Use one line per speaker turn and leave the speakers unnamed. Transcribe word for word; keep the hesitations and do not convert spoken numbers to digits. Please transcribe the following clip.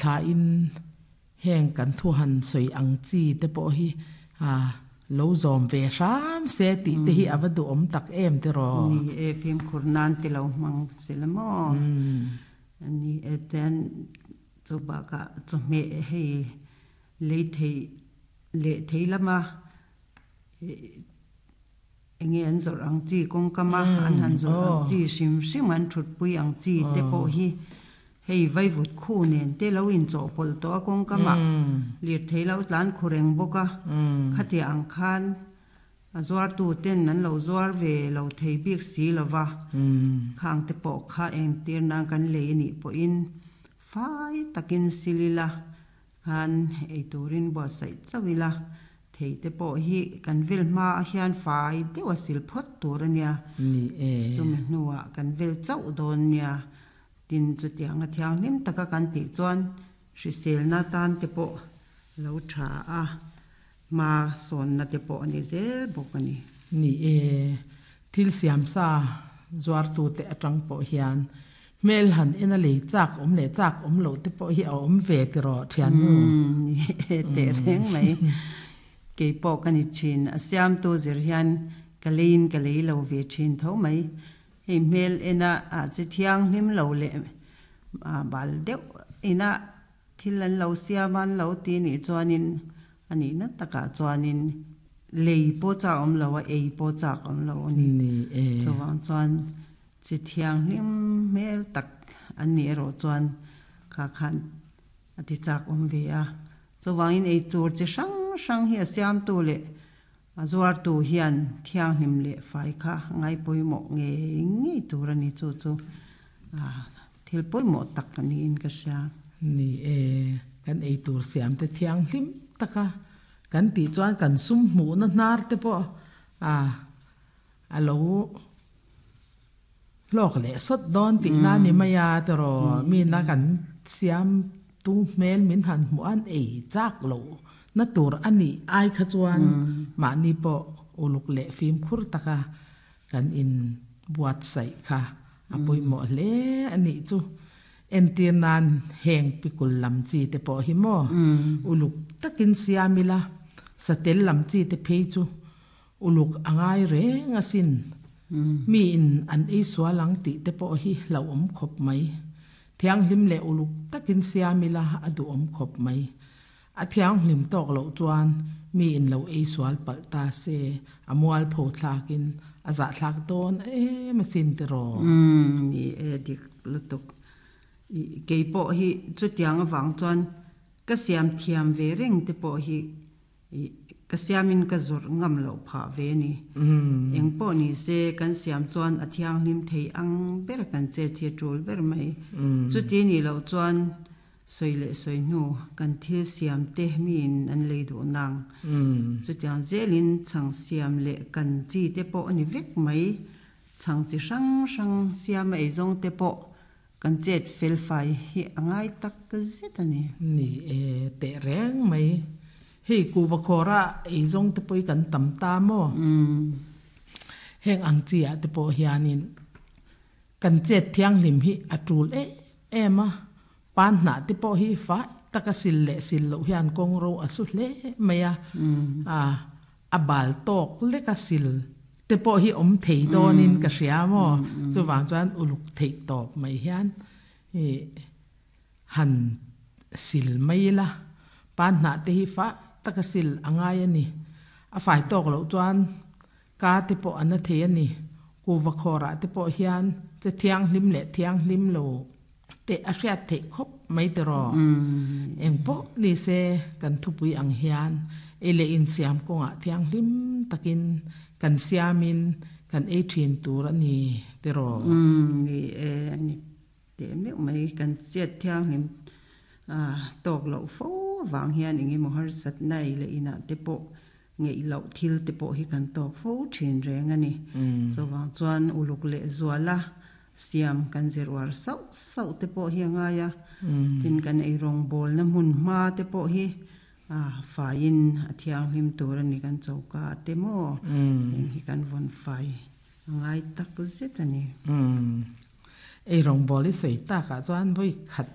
Thlain heng kan thu han sawi ang chi te pawh hi a lo zawm ve hram se tih te hi a va duhawm tak em tiraw?
Ni e, fimkhur nan ti lo hmang se la maw? Ni e, chuan chu bakah chawhmeh hei lei thei leh thei lama eng nge an zawrh ang chi kawngkama an han zawrh ang chi hrim hrim an thutpui ang chi te pawh hi hei vaivut khu nen te lo inchawhpawlh tawh a kawngkamah lirthei lo tlan khu reng bawk a, khatiah ang khan a zuartu ten an lo zuar ve lo thei bik si lo va, khang te pawh kha engtir nan kan lei a nih pawhin fai takin sil ila khan ei turin buatsaih chauh ila thei te pawh hi kan vel hma ah hian fai deuh a sil phawt tur a nia, chumi hnuah kan vel chauh dawn nia. Tin, chutianga thianghlim taka kan tih chuan hriselna tan te pawh lo tha a, hma sawnna te pawh a ni zel bawk a ni.
Ni e, thil siamsa zuartute atang pawh hian hmel han en a lei chak awm leh chak awm loh te pawh hi a awm ve tiraw thiannu?
Ni e, teh reng mai. Kei pawh ka ni thin. A siamtu zir hian ka leiin ka lei lo ve thin tho mai. Hei hmel ena ah che thianghlim lo leh bal deuh ina thil an lo siam a an lo ti nih chuanin a nihna takah chuanin lei pawh chak awm lo a, ei pawh chak awm lo a ni. Chuvang chuan chi thianghlim hmel tak an nih erawh chuan kha khan a ti chak awm ve a. Chuvangin ei tur chi hrang hrang hi a siamtu leh A zuartu hian thianghlim leh fai kha ngai pawimawh ngei ngei tur a ni, chu chu thil pawimawh tak a niin ka hria.
Ni e, kan ei tur siam te thianghlim taka kan tih chuan kan sum hmuhna hnar te pawh a a lo hlawk leh sawt dawn tihna a ni mai a tiraw, mina kan siam tu hmel min han hmuh an ei chak loh Na tur a nih ai kha chuan mahni pawh uluk leh fimkhur taka kan in buatsaih kha a pawimawh hle a nih chu. Entir nan heng pikul lam chi te pawh hi maw uluk takin siam ila, satel lam chi te phei chu uluk a ngai reng asin. Mi in an ei sual ang tih te pawh hi hlauhawm khawp mai. Thianghlim leh uluk takin siam ila a duhawm khawp mai. A thianghlim tawk loh chuan mi in lo ei sual palh ta se, a mualpho thlakin a zahthlak dawn em asin tiraw?
Umm, ni e, dik lutuk. I kei pawh hi chutiang avang chuan ka siam thiam ve reng te pawh hi i ka siamin ka zawrh ngam loh phah ve a ni. Eng pawh ni se kan siam chuan a thianghlim thei ang ber kan chet hi a tul ber mai. Chuti nih loh chuan Sawi leh sawi hnu kan thil siam te miin an lei duh nang. Chutiang zelin chhang siam leh kan chi te pawh a ni vek mai. Chhang chi hrang hrang siam a eizawng te pawh kan chet fel fai hi a ngai tak zet a ni.
Ni e, teh reng mai. Hei kuhva khawra eizawng te pawh hi kan tam ta maw? Heng ang chi ah te pawh hianin kan chet thianghlim hi a tul em em a. Pan hnah te pawh hi fai taka sil leh sil loh hian kawng ro a su hle mai a, a bal tawk leka sil te pawh hi awm thei dawnin ka hria maw? Chuvang chuan uluk theih tawp mai hian han sil mai ila, pan hnah te hi fai taka sil a ngai a ni. A fai tawk loh chuan ka te pawh a na thei a ni. Kuhva khawrah te pawh hian che thianghlim leh thianghlim lo teh a hriat theih khawp mai tiraw? Eng pawh ni se kan thupui ang hian ei leh insiam kawngah thianghlim takin kan siamin kan ei thin tur a ni tiraw?
Ni e, a ni teh meuh mai. Kan chet thianghlim tawk loh fo avang hian eng emaw harsatna ei leh inah te pawh ngeih loh thil te pawh hi kan tawk fo thin reng a ni. Chuvang chuan uluk leh zuala siam kan zir uar sauh sauh te pawh hi a ngai a, tin kan ei rawngbawlna hmun hma te pawh hi faiin a thianghlim tur a ni kan choka te maw heng hi kan vawn fai a ngai tak zet a ni.
Ei rawngbawlhi sawi takah chuan vawi khat